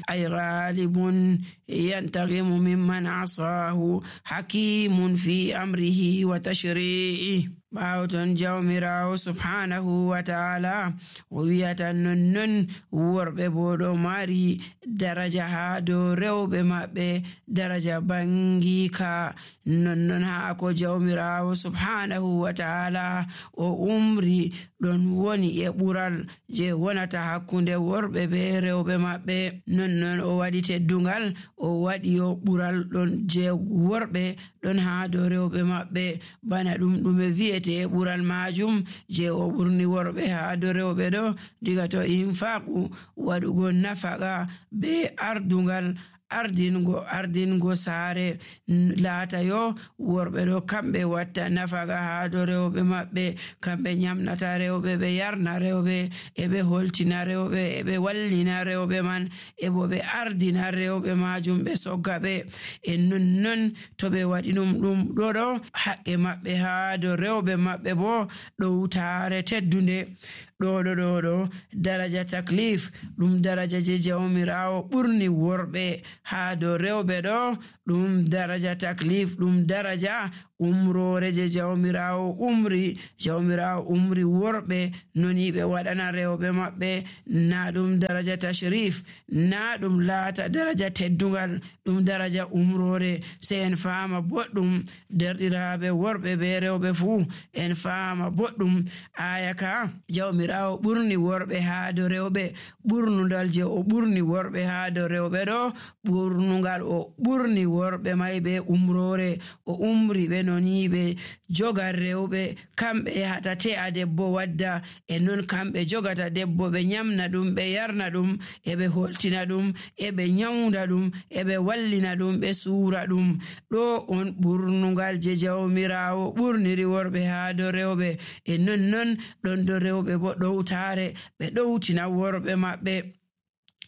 أي غالب ينتقم ممن عصاه حكيم في أمره وتشريعه. ɓaawton jawmiraawo subhanahu wa ta'ala o wiyata nonnon worɓe bo ɗo mari daraja haa dow rewɓe maɓɓe, daraja bangiika. nonnon haa ko jawmiraawo subhanahu wa ta'ala o umri ɗon woni e ɓural je wonata hakkunde worɓe be rewɓe maɓɓe. nonnon o waɗi teddungal, o waɗi o ɓural ɗon je worɓe ɗon haa dow rewɓe maɓɓe, bana ɗume wi'ete e ɓural majum je o ɓurni worɓe haa dow rewɓe ɗo, diga to infaqu waɗugo nafaqa be ardingo saare laata yo worɓe ɗo kamɓe watta nafaqa haa dow rewɓe maɓɓe, kamɓe nyamnata rewɓe, ɓe yarna rewɓe, e ɓe holtina rewɓe, e ɓe wallina rewɓe man, e bo ɓe ardina rewɓe majum, ɓe sogga ɓe. e nonnon to ɓe waɗi ɗum ɗo haqqe maɓɓe haa dow rewɓe maɓɓe bo ɗowtare teddunde. ɗo daraja taklif ɗum daraja je jawmirawo ɓurni worɓe haa dow rewɓe ɗo, ɗum daraja taklif, ɗum daraja umrore je jawmirawo umri worɓe noni ɓe waɗana rewɓe maɓɓe, na ɗum daraja tashrif, na ɗum laata daraja teddungal, ɗum daraja umrore. se en faama boɗɗum derɗiraɓe worɓe be rewɓe fuu, en faama boɗɗum aya ka jawmirawo ɓurni worɓe haa dow rewɓe. ɓurnudal je o ɓurni worɓe haa dow rewɓe ɗo, ɓurnungal o ɓurni worɓe may be umrore. o umri ɓe noni ɓe jogan rewɓe, kamɓe yahata te'a debbo wadda, e non kamɓe jogata debbo, ɓe nyamna ɗum, ɓe yarna ɗum, e ɓe holtina ɗum, e ɓe nyawda ɗum, e ɓe wallina ɗum, ɓe suura ɗum. ɗo on ɓurnungal je jawmirawo ɓurniri worɓe haa dow rewɓe. e nonnon ɗon dow rewɓe bo ɗowtare ɓe ɗowtina worɓe maɓɓe.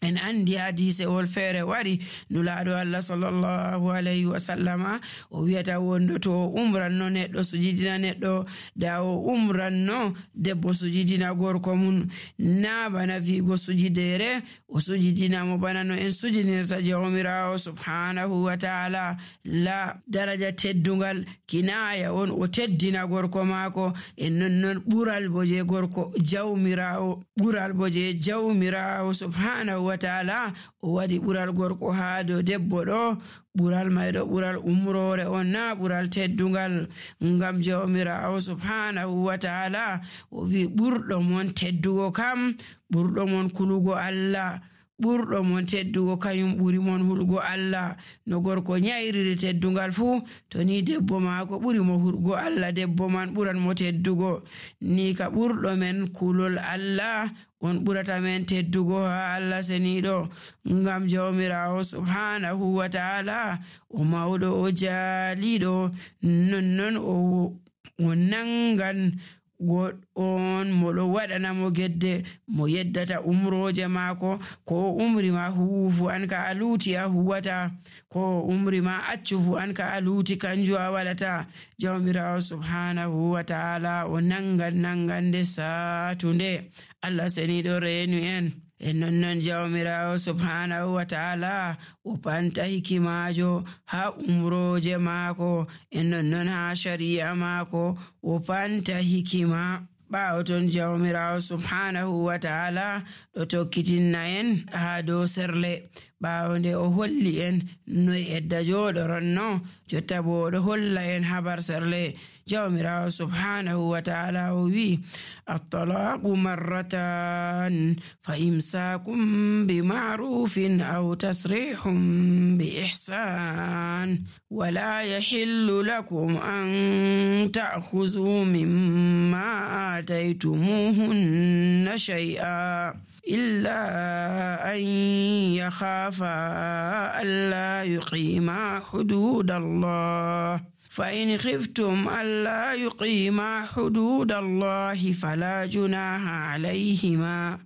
en andi hadise wol feere wari nulaaɗo Allah sallallahu alayhi wa sallama o wiyata wondo to o umranno neɗɗo sujidina neɗɗo, da o umranno debbo sujidina gorko mun, na bana wiigo sujidere o sujidinamo bana no en sujidinirta jawmirawo subhanahu wa ta'ala. la daraja teddungal kinaya on o teddina gorko maako, e nonnon ɓural bo je gorko jawmirawo, ɓural bo je jawmirawo subhanahu wa ta'ala o waɗi ɓural gorko haa dow debbo ɗo. ɓural mayɗo ɓural umrore on, na ɓural teddungal. ngam jawmirawo subhanahu wa ta'ala o wi ɓurɗo mon teddugo kam, ɓurɗo mon kulugo Allah, ɓurɗo mon teddugo kañum ɓuri mon hulgo Allah. no gorko nyayriri teddungal fuu, to ni debbo maako ɓuri mo hulgo Allah, debbo man ɓuran mo teddugo. ni ka ɓurɗo men kulol Allah on ɓurata men teddugo haa Allah seniɗo. ngam jawmirawo subhanahu wa ta'ala o mawɗo, o jaaliɗo, nonnon o nangan on moɗo waɗanamo gedde mo yeddata umroje maako. ko umri ma huufu an ka a luuti a huwata, ko umri ma accu fu an ka a luuti kanju a waɗata. jawmirawo subhanahu wa ta'ala o nangande satunde. Allah seniɗo reenu en. e nonnon jawmirawo subhanahu wa ta'ala o panta hikimajo ha umroje maako, e nonnon ha shari'a maako o panta hikima. ɓaawo ton jawmirawo subhanahu wa ta'ala ɗo tokkitinna en ha dow serle. ɓaawo nde o holli en no edda jooɗoronno, jotta bo ɗo holla en habar serle. jawmirawo subhanahu wa ta'ala o wi at-talaqu marratan fa imsakum bi ma'rufin aw tasrihum bi ihsan wala yahillu lakum an ta'khudhu mimma ataytumuhunna shay'a إلا أن يخافا ألا يقيما حدود الله فإن خفتم ألا يقيما حدود الله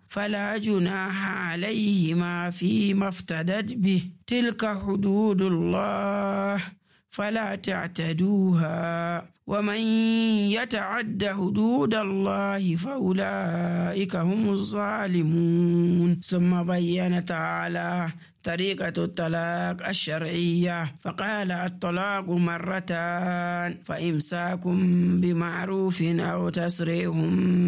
فلا جناح عليهما فيما افتدت به تلك حدود الله فلا تعتدوها ومن يتعد حدود الله فأولئك هم الظالمون. ثم بين تعالى طريقة الطلاق الشرعية فقال: الطلاق مرتان، فإمساك بمعروف أو تسريح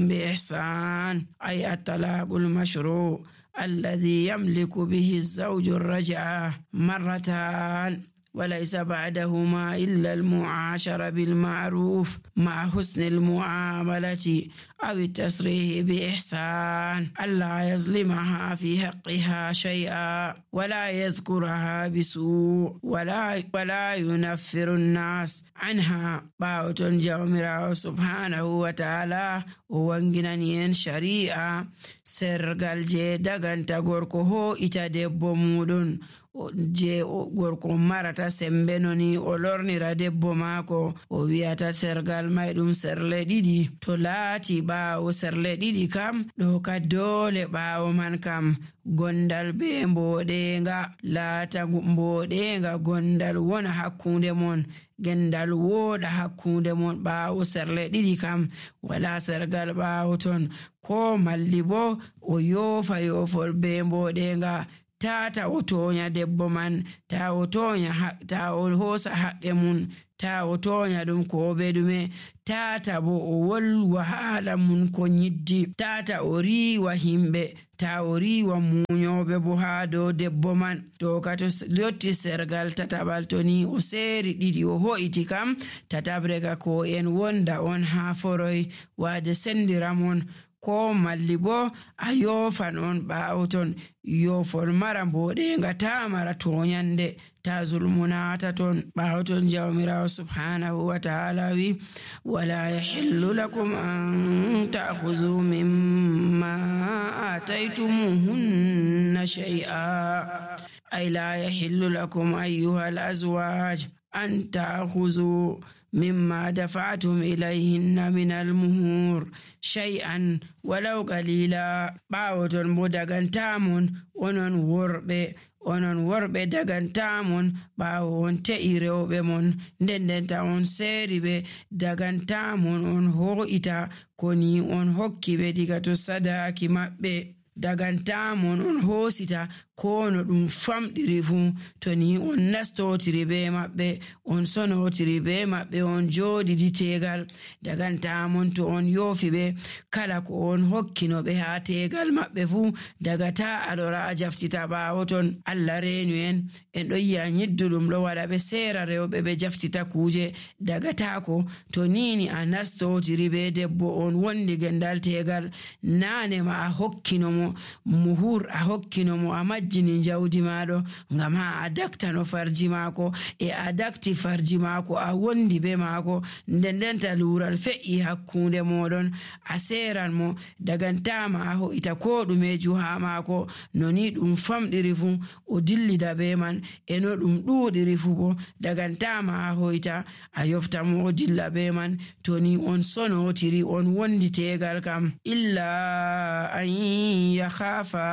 بإحسان، أي الطلاق المشروع الذي يملك به الزوج الرجعة مرتان، وليس بعدهما إلا المعاشرة بالمعروف مع حسن المعاملة أو التسريح بإحسان، ألا يظلمها في حقها شيئا ولا يذكرها بسوء ولا ينفر الناس عنها. باوتون جاوميراو سبحانه وتعالى وانجنانين شريعة سرغال جي دغانتا غوركو هو إتا ديبو مودون je gorko marata sembe noni o lornira debbo maako o wiyata sergal may ɗum serle ɗiɗi. To laati ɓaawo serle ɗiɗi kam ɗo ka doole ɓaawo man kam gondal be mboɗenga laata mboɗenga gondal wona hakkunde mon, gendal wooɗa hakkunde mon. ɓaawo serle ɗiɗi kam wala sergal ɓaawo ton, ko malli bo o yoofa yoofol be mboɗenga. Tata o tonya debbo man, ta o hosa haqqe mun, ta o tonya ɗum ko be ɗume, tata bo o wolwa haala mun ko nyiddi, tata o riwa himɓe, ta o riwa muñoɓe bo ha dow debbo man. To ka to yotti sergal tataɓal to ni o seeri ɗiɗi o ho'iti kam, tatabre ka ko en wonda on ha foroy wade sendira mon, ko malli bo a yofan on ɓaawo ton. Yofol mara mboɗenga ta mara toñande, ta zulmunata ton. ɓaawo ton jawmirawo subhanahu wa ta'ala wi: wala yahillu lakum an ta'khudhu mimma ataytumuhunna shay'a, ay la yahillu lakum ayyuhal azwaj an ta'khudhu مما دفعتم إليهن من المهور شيئا ولو قليلا. باوتون بودغانتامون onon worɓe dagantamon ɓaawo on te'i rewɓe mon, ndendenta on seeri ɓe dagantamon on ho'ita koni on hokki ɓe diga to sadaki maɓɓe. Dagantamon on hoosita ko no ɗum famɗiri fuu, to ni on nastotiri be maɓɓe, on sonotiri be maɓɓe, on jooɗidi tegal. Dagantamon to on yoofi ɓe kala ko on hokkino ɓe ha tegal maɓɓe fuu, daga ta alora a jaftita ɓaawo ton. Allah reenu en ɗo yi'a nyidduɗum ɗo waɗa ɓe seera rewɓe ɓe jaftita kuuje, daga tako to nini a nastotiri be debbo on wondi gendal tegal, naane ma a hokkinomo muhur, a hokkinomo a majjini jawdi maɗo ngam ha a daktano farji maako, e a dakti farji maako a wondi be maako, ndendenta luural fe'i hakkunde moɗon, a seran mo dagantama a ho'ita ko ɗumeju ha maako. No ni ɗum famɗiri fu o dillida be man, e no ɗum ɗuɗiri fu bo dagantama a ho'ita a yofta mo o dilla be man. To ni on sonotiri on wondi tegal kam, illa an yakhafa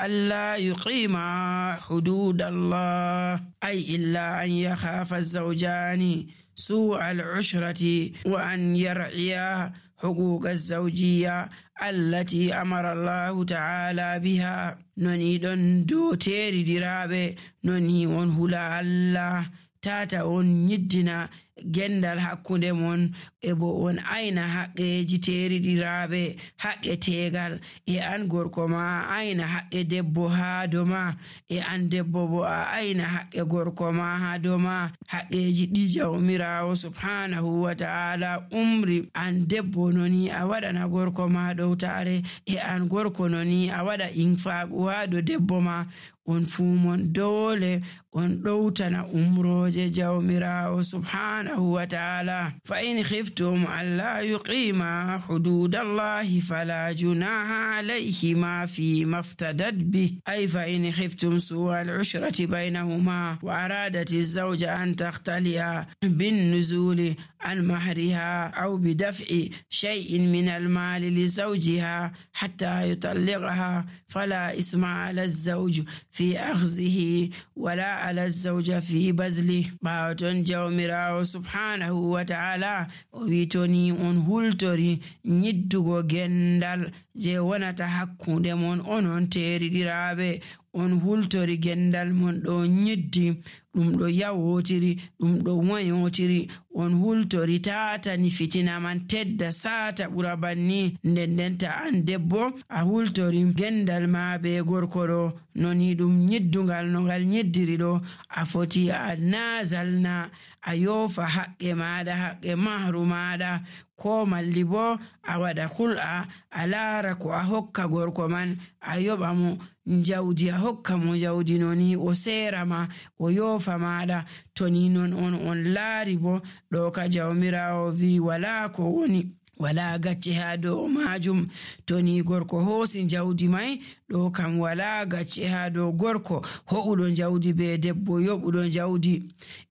alla yuqima hududallah, ay illa an yakhafa az-zawjani سوء العشرة وأن يرعيا حقوق الزوجية التي أمر الله تعالى بها. نوني دون دو تيري ديرابي نوني on hula Allah, tata on nyiddina gendal hakkunde mon, e bo on ayna haqqeji teriɗiraɓe, haqqe tegal, e an gorko ma ayna haqqe debbo ha doma, e an debbo bo a ayna haqqe gorko ma ha doma. haqqeji ɗi jawmirawo subhanahu wa ta'ala umri an debbo noni a waɗana gorko ma ɗowtare, e an gorko noni a waɗa infaqu ha do debbo ma. on fuu mon dole on ɗowtana umroje jawmirawo subhanahu wa ta'ala. fa in khiftum alla yuqima hududallahi fala junaha alayhima fi maftadat bih, ay fa in khiftum su'a al-ushrati baynahuma wa aradat az-zawja an takhtali'a bin nuzuli an mahriha aw bi daf'i shay'in min al-mali li zawjiha hatta yutalliqaha fala isma 'ala az-zawj في أخذه ولا على الزوجة في بذله. باوتون جوميراو سبحانه وتعالى ويتوني on hultori nyiddugo gendal je wonata hakkunde mon onon teriɗiraɓe. On hultori gendal mon ɗo nyiddi, ɗum ɗo yawotiri, ɗum ɗo wayotiri. On hultori tatani fitina man tedda sata ɓura banni. Ndendenta an debbo a hultori gendal ma be gorko ɗo noni ɗum nyiddungal no ngal nyiddiri ɗo, a foti a nazalna a yofa haqqe maɗa, haqqe mahru maɗa, ko malli bo a waɗa hul'a a laara ko a hokka gorko man, a yoɓa mo jawdi, a hokka mo jawdi noni o seera ma o yofa maɗa. To ni non on laari bo ɗo ka jawmirawo wi wala ko woni, wala gacce ha dow majum. To ni gorko hoosi jawdi mai ɗo kam wala gacce ha dow gorko ho'uɗo jawdi be debbo yoɓuɗo jawdi.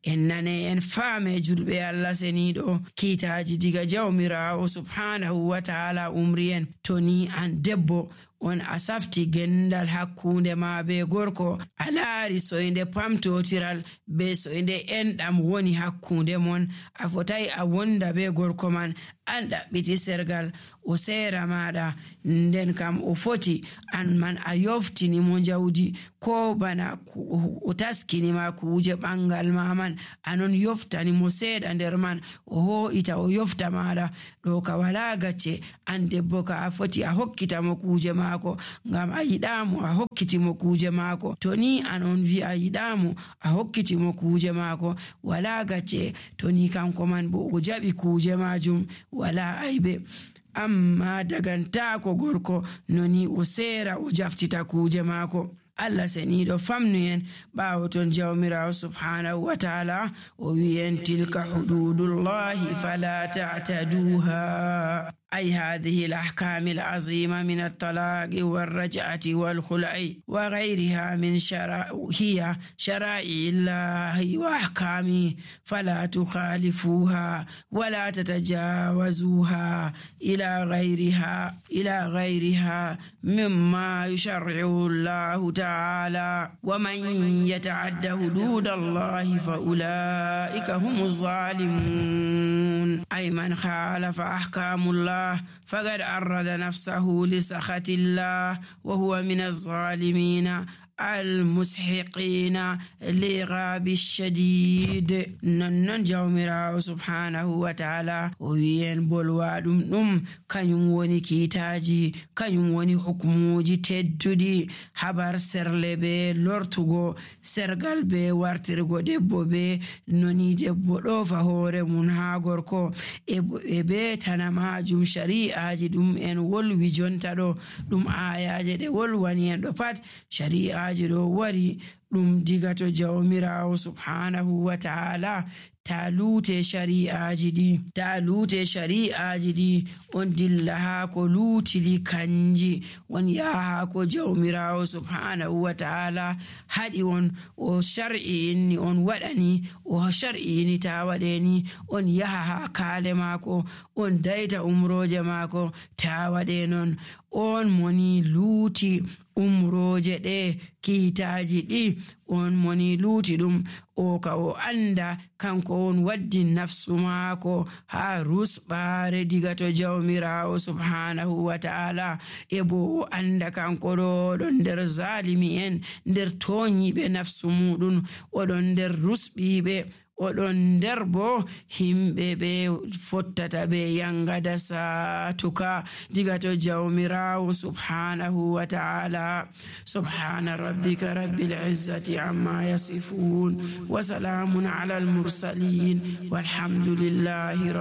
En nane en faame julɓe Allah seniɗo, kiitaji diga jawmirawo subhanahu wa ta'ala umri en. To ni an debbo on a safti gendal hakkunde ma be gorko, a laari soyde pamtotiral be soyde enɗam woni hakkunde mon, a fotai a wonda be gorko man an ɗaɓɓiti sergal o seera maɗa. Nden kam o foti an man a yoftini mo jawdi, ko bana o taskini ma kuje ɓangal ma man anon yoftani mo seeɗa nder man, o ho'ita o yofta maɗa. ɗo ka wala gacce. An debbo ka a foti a hokkita mo kuje maako, ngam a yiɗamo a hokkiti mo kuje maako. To ni anon wi a yiɗamo a hokkiti mo kuje maako, wala gacce. To ni kanko man bo o jaɓi kuje majum, wala aibe. Amma dagantako gorko noni o seera o jaftita kuje maako. Allah seniɗo famnu en ɓawo ton jawmirawo subhanahu wa ta'ala o wi en tilka hududullahi fala ta'taduha. أي هذه الأحكام العظيمة من الطلاق والرجعة والخلع وغيرها من هي شرائع الله وأحكامه، فلا تخالفوها ولا تتجاوزوها إلى غيرها مما يشرعه الله تعالى. ومن يتعد حدود الله فأولئك هم الظالمون. أي من خالف أحكام الله فقد عرض نفسه لسخط الله وهو من الظالمين المسحقين لغاب الشديد. نن جawmirawo subhanahu wa ta'ala o wiyen bolwa ɗum kanyum woni kiitaji, kanyum woni hukmuji tedduɗi, habar serle be lortugo sergal be wartirgo debbo be noni debbo ɗofa hoore mun ha gorko e be tana majum. Shari'aji ɗum en wolwi jonta ɗo, ɗum ayaje ɗe wolwani en ɗo pat shari'aji ɗo wari ɗum diga to jawmirawo subhanahu wa ta'ala. ta luute shari'aji ɗi on dilla ha ko luutili kanji on yaha ko jawmirawo subhanahu wa ta'ala haɗi on o shar'ini on waɗani, o shar'ini ta waɗeni on yaha ha kaale maako on dayta umroje maako ta waɗe non. On moni luuti umroje ɗe kiitaji ɗi, on moni luuti ɗum o ka o anda kanko on waddi nafsu maako ha rusɓare diga to jawmirawo subhanahu wa ta'ala. E bo o anda kanko ɗon nder zalimi en, nder toñiɓe nafsu muɗum, oɗon nder rusɓiɓe, oɗon nder bo himɓe ɓe fottata ɓe yangada satuka diga to jawmirawo subhanahu wa ta'ala. Subhana rabbika rabbil izzati amma yasifun wa salamun ala al mursalin walhamdulillahi